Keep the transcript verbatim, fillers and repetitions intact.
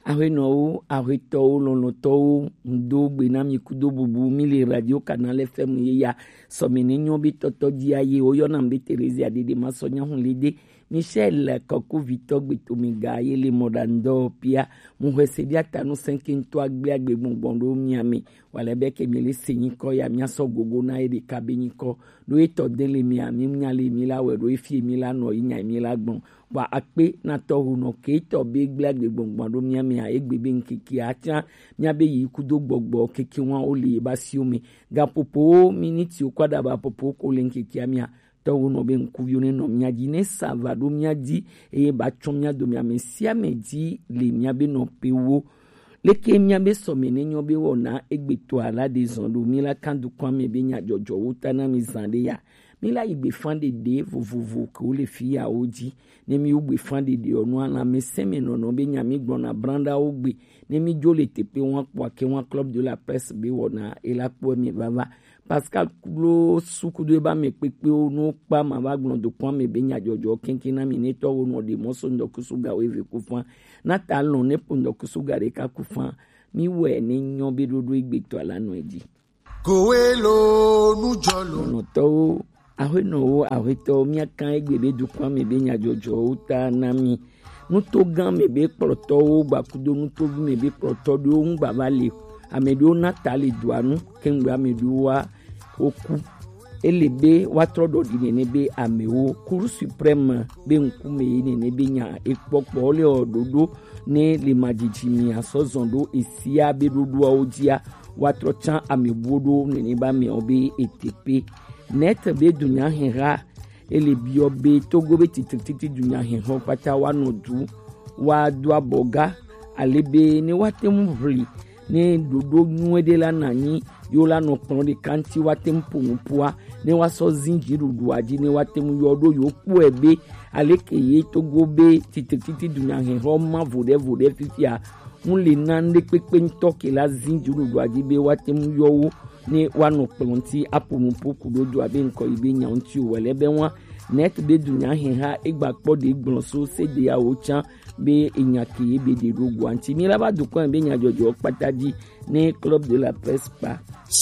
Ahuenɔwo, ahuetɔwo, lɔlɔ̃tɔwo, ŋdo gbe na mi kudo bubu, mi le Radio Canal F M ye ya, sɔme ne nyɔ be tɔtɔ ji aye, wo yɔna be Theresia Dede ma sɔ nya hun le de, Michel Kɔkuvitɔ gbe to mi ga ye le mɔ da ŋdɔ pia, mu hwe se bia ta nu sɛnke ŋtɔ agbe agbe gbɔngbɔn ɖo mia me, wa le be ke mi le se nyikɔ ya, mia sɔ gogo na ye ɖeka be nyikɔ, ɖo etɔ de le mia, mi nya le mi la wɛ, ɖo efi mi la nɔ yi nya mi la gbɔn, Wa akpe na tɔhunɔ ke tɔ be gble agbe gbɔngbɔn ɖo mia mea, egbe be ŋkeke atia mia be yi kudo gbɔgbɔ keke wa wo le ba siwo me. Ga popo miniti wo kwa da ba popo ko le ŋkeke mia. Tɔhunɔ be ŋkuviwo ne nɔ mia ji ne sa va ɖo mia ji eye ba tsɔ mia do mia me sia me ji le mia be nɔ pe wo. Leke mia be sɔme ne nyɔ be wɔna egbe to ala de zɔn ɖo mi la kan dukɔa me be nya jɔjɔ wo ta na mi zan ɖe ya. Mi la yi gbefan ɖeɖe vovovo ke wo le fi ya wo ji. Ne mi wo gbefan ɖeɖe ɔ, nu alamɛsɛn me nɔnɔ be nya mi gblɔna branɖa wo gbe. Ne mi dzo le teƒe wa kpɔa ke wa Club de la Presse be wɔna e la kpɔ mi vava. Pascal klo sukudo e ba me kpekpe wo nu kpa ma va gblɔ dokɔn me be nya jɔjɔ kenken na mi ne tɔ wo nɔ ɖe mɔ so ŋdɔkusu ga wo eve ku fan. Na ta lɔn ne po ŋdɔkusu ga ɖeka ku fan. Mi wɛ ne nyɔ be ɖoɖo egbe tɔ la nɔ e ji. Kowe lo nujɔlo. Nɔtɔwo, ahuenɔwo, ahuetɔwo, miakan egbe be dukɔa me be nyadzɔdzɔwo ta na mi. Nutogã me be kplɔtɔwo gbakudo nutovi me be kplɔtɔ ɖewo ŋgba va le o. Ame ɖewo na ta le dua nu, kengbe ame ɖewo wa woku. Ele be woatrɔ ɖɔ ɖi nene be amewo Cour suprême be ŋkume ye nene be nya ekpɔkpɔ le ɔ ɖoɖo ne le madzidzi mi asɔ zɔn ɖo esia be ɖoɖoawo dzia. Woatrɔ tsã ame buwo ɖo nene ba me ɔ be etepe. Net be dunya hɛha ele biɔ be Togo be titrititi dunya hɛhɔ kpata wa nɔ du wa do abɔ ga ale be ne wa te ŋu ʋli ne ɖoɖo nyuie ɖe la na nyi yo la nɔ kplɔn ɖeka ŋti wa te ŋu po nu poa ne wa sɔ zin dziɖuɖua dzi ne wa te ŋu yɔ ɖo yo kpɔe be aleke ye Togo be titrititi dunya hɛhɔ ma vo ɖe vo ɖe fifia ŋu le na ŋɖe kpekpe ŋutɔ ke la zin dziɖuɖua dzi be wa te ŋu yɔ wo ne wa nɔ kplɔn ŋti apo nu po ku ɖo do abe ŋkɔ yi be nya ŋti o wɛlɛ be wa net be dunya hɛha egba kpɔ ɖe gblɔ so se ɖe ya wo tsã be enya ke ye be ɖe ɖo goa ŋti mi la va dukɔn be nya jɔjɔ kpata dzi ne Club de la Presse kpa.